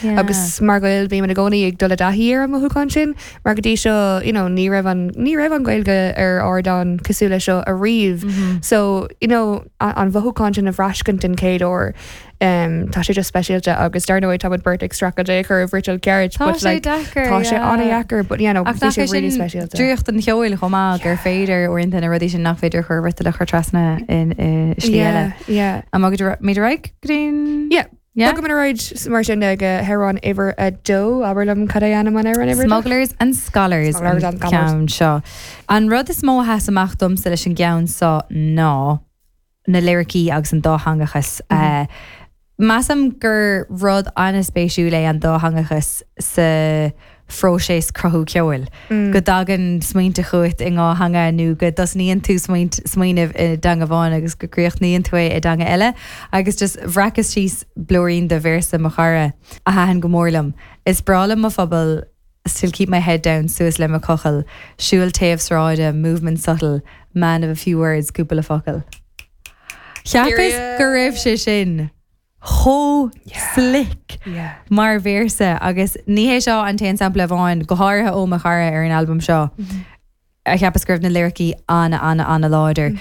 Agus mar Ghaeil bímid i gcónaí ag dul i dtaithí ar an mothúchán sin mar go dtí seo you know ní raibh an ní raibh an Ghaeilge ar ardán cosúil le seo ariamh. So you know an mhothúchán sin a bhraiscint den chéad uair um, tá sé just speisialta agus dar ndóigh tá muid beirt ag streachailt é a chur i bhfriotal ceart Tá but sé like deacair, tá sé yeah. an-dheacair but yeah no Ach bhí nach sé é sin really speisialta. draíocht an cheoil chomh maith gur féidir uaireanta na rudaí sin nach féidir a chur i bhfriotal a chur trasna in i slí eile. Yeah, yeah. An mbogfaimid ar aghaidh go dtí an Yeah. Yeah? Bogfaimid ar aghaidh mar sin ag amhrán uimhir a dó, abair liom cad é ainm an amhráin uimhir a dó? Smugglers and Scholars Smugglers an and Scholars. ceann seo. An rud is mó a sheas amach domsa leis an gceann seo ná na liricí agus an dátheangachas. Measaim gur rud an-spéisiúil é an dátheangachas sa phróiseas cruthú ceoil, go dtagann smaointe chugat i ndhá theanga nó go dtosnaíonn tú smaoint, smaoineamh i dteanga amháin agus go gcríochnaíonn tú é i dteanga eile. Agus just bhreacas síos blúirín de véarsa mo chara a thaitin go mór liom, Is breá liom mo phobal, still keep my head down suas le mo chochall, siúl taobh sráide, movement subtle, man of a few words, cúpla focal. Cheapas go raibh sé sin chomh slick mar véarsa agus ní hé seo an t-aon sampla amháin, go háirithe ó mo chara ar an albam seo, a cheapas go raibh na liricí ana ana ana láidir.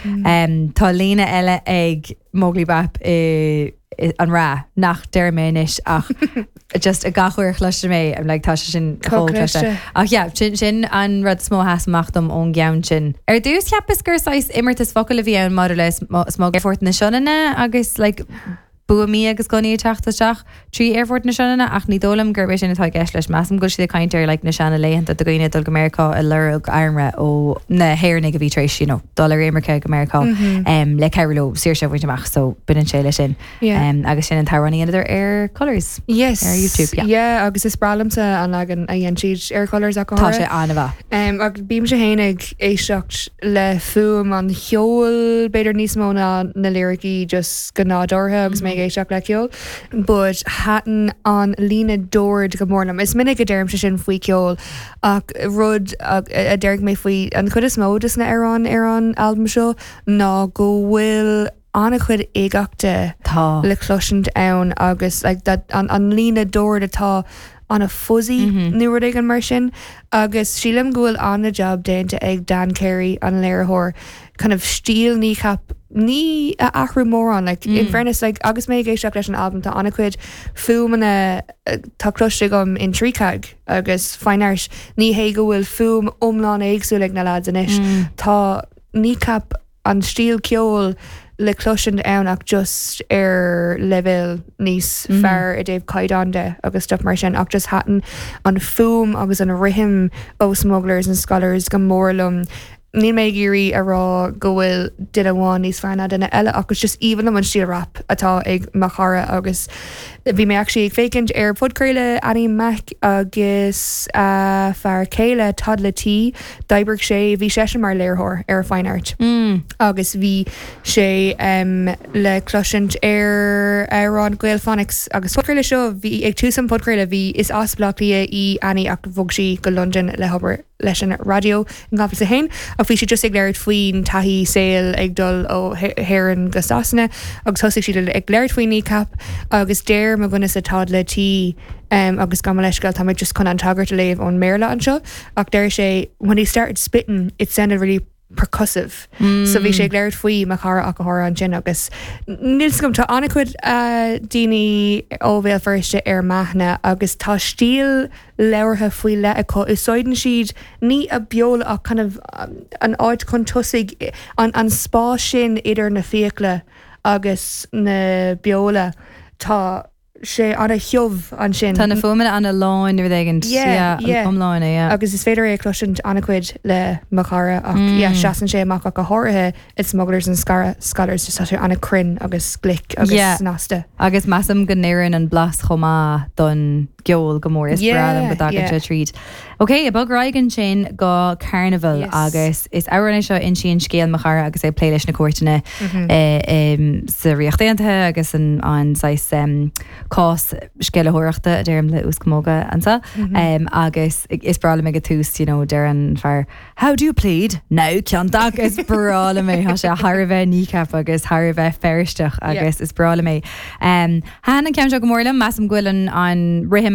Tá líne eile ag Móglaí Bap i An Rath nach déarfaidh mé anois ach just gach uair a chloisim é I'm like tá sé sin chomh cliste. Ach yeah, sin sin an rud is mó a sheas amach dom ón gceann sin. Ar dtús cheapas gur saghas imeartas focal a bhí ann maidir le Aerfort na Sionainne agus like buamaí agus gunnaí ag teacht isteach trí Aerfort na Sionainne ach ní dóigh liom gurb é sin atá i gceist leis. Measaim go bhfuil siad ag caint ar like na seana laethanta do dhaoine ag dul go Meiriceá ag lorg armra ó na hÉireannaigh a bhí tar éis you know dul ar imirce go Meiriceá um, le cabhrú leo saoirse a bhaint amach so baineann sé leis sin. Yeah. Um, agus sin an t-amhrán a dheineadar ar Colours. Yes. Ar YouTube, yeah. Yeah, agus is breá liomsa an leagan a dhein siad ar Colours ach go Tá háirithe. sé an-mhaith. Um, ach bímse féin ag éisteacht le fuaim an cheoil b'fhéidir níos mó ná na liricí just go nádúrtha agus mé ag éisteacht le ceol. But thaitin an líne dord go mór liom. Is minic a deirimse sin faoi cheol ach rud a déarfaidh mé faoi an chuid is mó de na hamhráin ar an albam seo ná go bhfuil an-chuid uigeachta Tá. le cloisint ann agus like that an, an líne dord atá an-fuzzy nó rud éigin mar sin agus sílim go bhfuil an-jab déanta ag Dan Carey an léiritheoir kind of stíl Kneecap ní a athrú mórán like in fairness like agus mé ag éisteacht leis an albam tá an-chuid fuaimeanna tá cloiste agam in Treecag agus Fine Art ní hé go bhfuil fuaim iomlán éagsúil ag na lads anois tá Kneecap an stíl ceoil le cloisint ann ach just ar leibhéal níos fearr i dtaobh caighdeán de agus stuff mar sin ach just thaitin an fuaim agus an rithim ó Smugglers and Scholars go mór liom. Níl mé ag iarraidh a rá go bhfuil duine amháin níos fearr ná duine eile ach is just aoibhinn liom an stíl rap atá ag mo chara agus bhí mé actually ag féachaint ar podchraoladh Annie Mac agus a fear céile Toddla T D'oibrigh sé, bhí seisean mar léiritheoir ar Fine Art agus bhí sé le cloisint ar amhrán Gaelphonics agus podchraoladh seo, bhí, ag tús an podchraoladh bhí, is as Baile Átha Cliath í Annie ach bhog sí go Londain le hobair leis an raidió in 2001 ach bhí siad just ag labhairt faoin taithí saoil ag dul ó hÉirinn go Sasana agus thosaigh siad ag labhairt faoi Kneecap agus deir mo dhuine-sa Toddla T agus gabh mo leithscéal tá mé just chun an tagairt a léamh ón mBéarla anseo. Ach deir sé, when he started spitting, it sounded really percussive. So bhí sé ag labhairt faoi mo chara ach go háirithe ansin agus níl 's agam, tá an-chuid daoine ó Bhéal Feirste ar m'aithne agus tá stíl labhartha faoi leith acu. Úsáideann siad ní a beola ach kind of an áit chun tosaigh, an an spás sin idir na fiacla agus na beola. Tá. sé ana-thiubh ansin. Tá na fuaimeanna ana-lán rud éigin. Yeah, yeah. Iomláine, yeah. Agus is féidir é a chloisint an-chuid le mo chara ach yeah, seasann sé amach ach go háirithe i Smugglers and Scholars just tá sé an-chruinn agus glic agus Yeah. snasta. Agus measaim go n-oireann an blas chomh maith don gceol go mór. Is breá liom go Yeah, dtagann yeah. sé tríd. Ok, bog ar aghaidh ansin go Carnival Yes. agus is amhrán é seo a insíonn scéal mo chara agus é ag plé leis na cúirteanna sa Ríocht Aontaithe agus an an saghas cás sceimhlitheoireachta a deirim le uaschamóga anseo agus is breá liom ag an tús you know deir an fear How do you plead? Now ciontach is breá liom é tá sé thar a bheith Kneecap agus thar a bheith Feirsteach agus is breá liom é. Thaitin an ceann seo go mór liom, measaim go bhfuil an an rithim.